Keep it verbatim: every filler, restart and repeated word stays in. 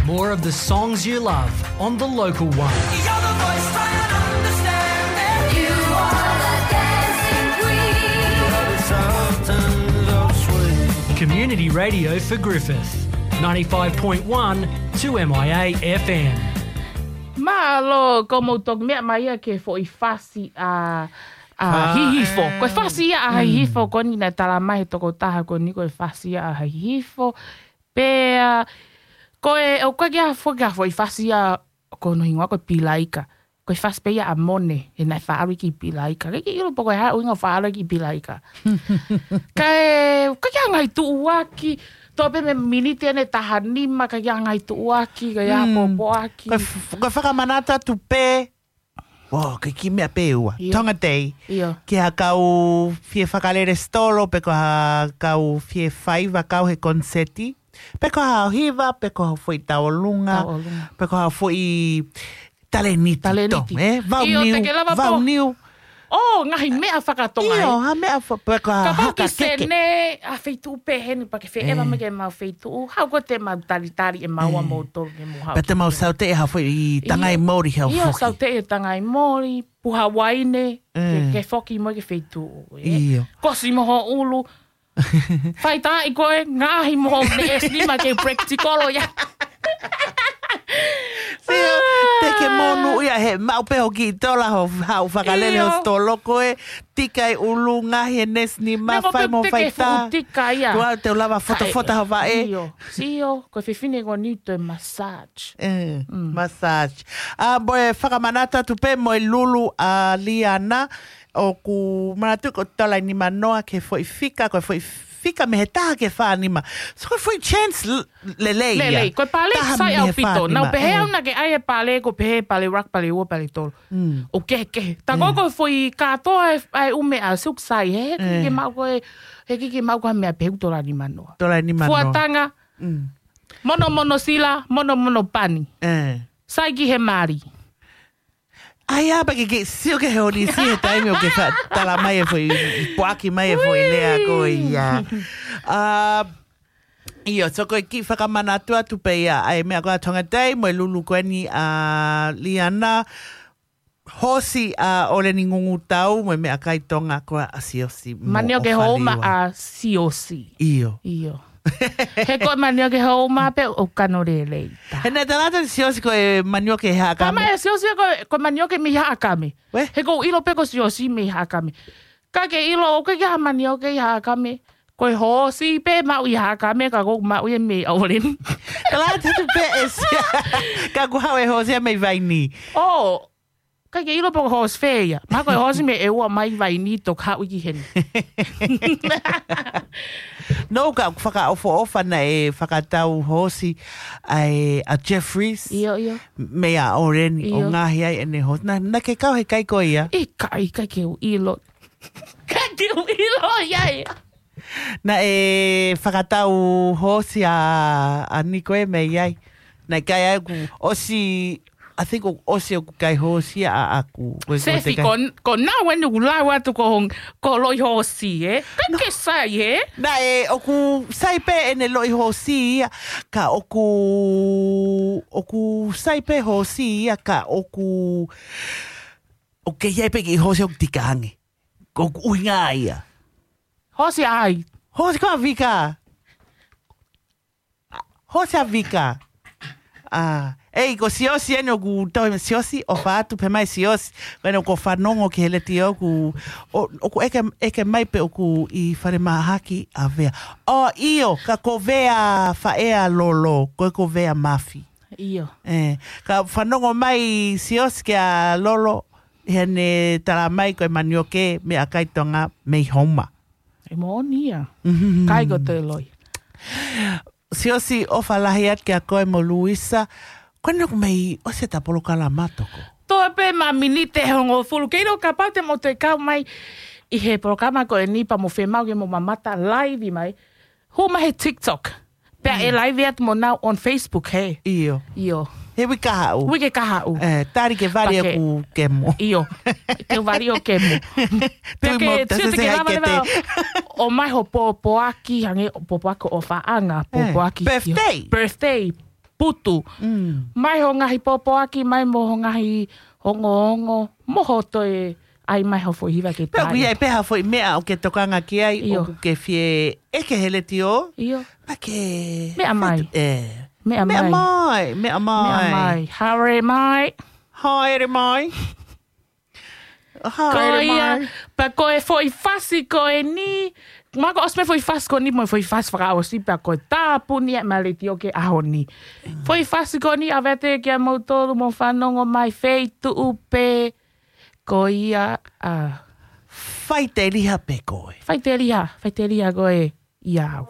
More of the songs you love on the local one. You're the voice trying to understand it. You are the dancing queen. Community radio for Griffith, ninety-five point one two M I A F M. Mālō, ko mou toki meʻa mai ia ke foʻi fasi ʻa, ʻa Hihifo. Ko e fasi ia ʻa Hihifo, ko eni naʻe tala mai he tokotaha ko eni ko e fasi ia ʻa Hihifo. Pea, ko e, ʻoku ʻikai ke ʻi ai ha foʻi, ha foʻi fasi ia ko hono hingoa ko e Pilaika. Ko e fasi pē ia ʻa Mone, he naʻe faʻa ʻalu ki Pilaika. ʻIkai ke ʻilo pe ko e hā e ʻuhinga ʻo faʻa ʻalu ki Pilaika. Kae, ʻoku ʻikai ke ʻi ai ha ngaahi tuʻuaki, toʻo pē mei he miniti eni ʻe taha nima, ʻikai ke ʻi ai ha ngaahi tuʻuaki, ʻikai ke ʻi ai ha pōpoaki. Ko e f-, ko e fakamanatu atu pē, ʻo, ko e kiʻi meʻa pē ʻe ua. ʻIo. Tonga Day. ʻIo. Ki ha kau fie fakalele sitolo, pe ko ha kau fie faiva kau he koniseti. Pe ko ha hiva, pe ko ha foʻi tauʻolunga. Tauʻolunga. Pe ko ha foʻi talēniti. Talēniti. Ē? Vau niu, te ke lava vau niu. ʻO, ngaahi meʻa fakatonga, ʻio, ē? Ha meʻa fa-, pe ko ha haka keke. Kapau ki Sene, ha feituʻu pehē ni pea ke feʻeva mai ki heʻemau feituʻu. Haʻu ko ē te mau talitali ʻe maua moutolu ke mou haʻu. Pea te mau saute ha foʻi tangai moli hau foki. ʻIo, saute e tangai moli, puha uaine, ke, ke foki mo e ke feituʻu, ē? ʻIo. Kosi mo ho ʻulu. Fai tā i ko e ngaahi mo ho neʻesi nima ke practical ia. Sio, te ke monūʻia he maʻu pē ho kiʻi tola ho haʻu fakalele ho sitolo ko e tika e ʻulu ngaahi e neʻesi nima, fai mo fai tā. Tika ia. Tuʻa te u lava fotofota ho vaʻe. ʻIo, sio, ko e fefine ko eni toe massage. Ē, massage. ʻA, mo e fakamanatu atu pē mo e lulu ʻa Liana, ʻoku manatu ko e tola ʻe nima noa ki he foʻi fika, ko e foʻi fika mei he taha ki he fā nima. So ko e foʻi chance l-, lelei ia. Lelei, ko e pale sai ʻaupito. Nau pehē au naʻa ke ʻai e pale, ko e pehē pale rak, pale ua, pale tolu. ʻOku kehekehe. Tā ko e foʻi kātoa e, ʻa e ʻū meʻa, suk sai, he, he ʻikai ke maʻu ko e, he ʻikai ke maʻu ko ha meʻa pehē ʻoku tola ʻe nima noa. Tola ʻe nima noa. Fuataga, monomono sila, monomono pani. Sai ki he mali. ʻAi, ʻa, pea ke, ke sio ki he holisi he taimi ʻoku ke fa-, tala mai e foʻi, poaki mai e foʻi lea ko ia. ʻA, ʻio, so ko e kiʻi fakamanatu atu pē ia, ʻa e meʻa ko e Tonga Day, mo e lulu ko eni ʻa Liana, hoosi ʻa ʻOleni Ngungutau, mo e meʻakai Tonga ko ʻa Siosi. Manioke houma ʻa Siosi. ʻIo. ʻIo. He ko e manioke houma pē ʻoku kano lelei. He naʻe tala atu ʻe Siosi ko e manioke he Haʻakame. Tala mai ʻe Siosi ko e, ko e manioke mei Haʻakame. He ʻoku ou ʻilo pē ko Siosi mei Haʻakame. ʻIkai ke ʻilo, ʻoku ʻikai ke ʻi ai ha manioke ʻi Haʻakame. Ko e hoosi pē maʻu ʻi Haʻakame, ka ʻoku maʻu ia mei ʻOleni. Tala atu pē ʻe Siosi. Ka ʻoku haʻu e hoosi ia mei Vaini. ʻO, ʻikai ke ʻilo pe ko e hoosi fē ia. Mahalo ko e hoosi mei ʻEua mai Vaini toki haʻu ki heni. No, ka ʻoku fakaʻofoʻofa naʻe fakatau hoosi ʻa e, ʻa Jeffries. ʻIo, ʻio. Mei ʻa ʻOleni ʻo ngaohi ai ʻene hoosi. Naʻa, naʻa ke kau he kai ko ia? ʻIkai, ʻikai ke u ʻilo. ʻIkai ke u ʻilo ia. Naʻe fakatau hoosi ʻa, ʻa Niko ē mei ai. Naʻe kai ai ʻoku ʻosi, I think ʻoku ʻosi ʻeku kai hoosi ʻaʻaku. Sefi, ko, ko nau eni ʻoku lau atu ko hong, ko Loʻi Hoosi, ē? ʻIkai ke sai, ē? Naʻe ʻoku sai pē ʻene Loʻi Hoosi ia, ka ʻoku, ʻoku sai pē hoosi ia, ka ʻoku, ʻoku kei ʻi ai pē kiʻi hoosi ʻoku tika ange. ʻOku ʻuhinga ia. Hoosi ai. Hoosi ko ā Vika. Hoosi ʻa Vika. ʻA, ʻei, ko Siosi eni ʻoku tau he Siosi, ʻofa atu pē mai Siosi. Ko eni ʻoku fanongo ki he letiō ʻoku, ʻo, ʻoku ʻeke, ʻeke mai pe ʻoku ʻi falemahaki ʻa Vea. ʻO, ʻio, ka ko Vea faʻē ʻa Lolo, ko e ko Vea Mafi. ʻIo. Ē, ka fanongo mai Siosi kia Lolo, he naʻe tala mai ko e manioke meʻakai Tonga mei Houma. ʻE moʻoni ia. Kai ko te loi. Siosi, ʻofa lahi atu kia koe mo Luisa. Ko eni ʻoku mei ʻosi ʻeta polokalama toko. Toe pē ma miniti ʻe hongofulu. Kei lo kapau te mo toe kau mai ʻi he polokalama ko eni pea mo fiemaʻu ke mo mamata live mai. Hū mai he TikTok. Pea ʻe live atu mo nau on Facebook, he? ʻIo. ʻIo. He uike kahaʻu. Uike kahaʻu. Ē, tali ke vali ʻeku kemo. ʻIo. Ke vali ʻo kemo. Pea ke, sio te ke lava leva ʻo mai ho pōpoaki, hangē ʻo pōpoaki ʻofaʻanga, pōpoaki. Birthday. Birthday. putu. Mm. Mai ho ngaahi pōpoaki, mai mo ho ngaahi ongoongo, mo ho toe ʻai mai ho foʻi hiva ke Pea ʻoku ʻi ai pē ha foʻi meʻa ʻoku ke tokanga ki ai, ʻIo. ʻoku ke fie ʻeke he letiō. ʻIo. Pea ke Meʻa mai. fetu-, ē. Meʻa Meʻa mai. mai, meʻa mai. Meʻa mai. Haere mai. Haere mai. Haere Ko ia, mai. pea ko e foʻi fasi ko eni, ma ko ʻosi pē foʻi fasi ko eni, mo e foʻi fasi fakaʻosi, pea ko e tāpuni ʻa e letiō ki he ʻaho ni. Foʻi fasi ko eni, ʻave atu kia moutolu mo fanongo mai feituʻu pē, ko ia, ā. Faiteliha pē koe. Faiteliha, faiteliha koe ia au.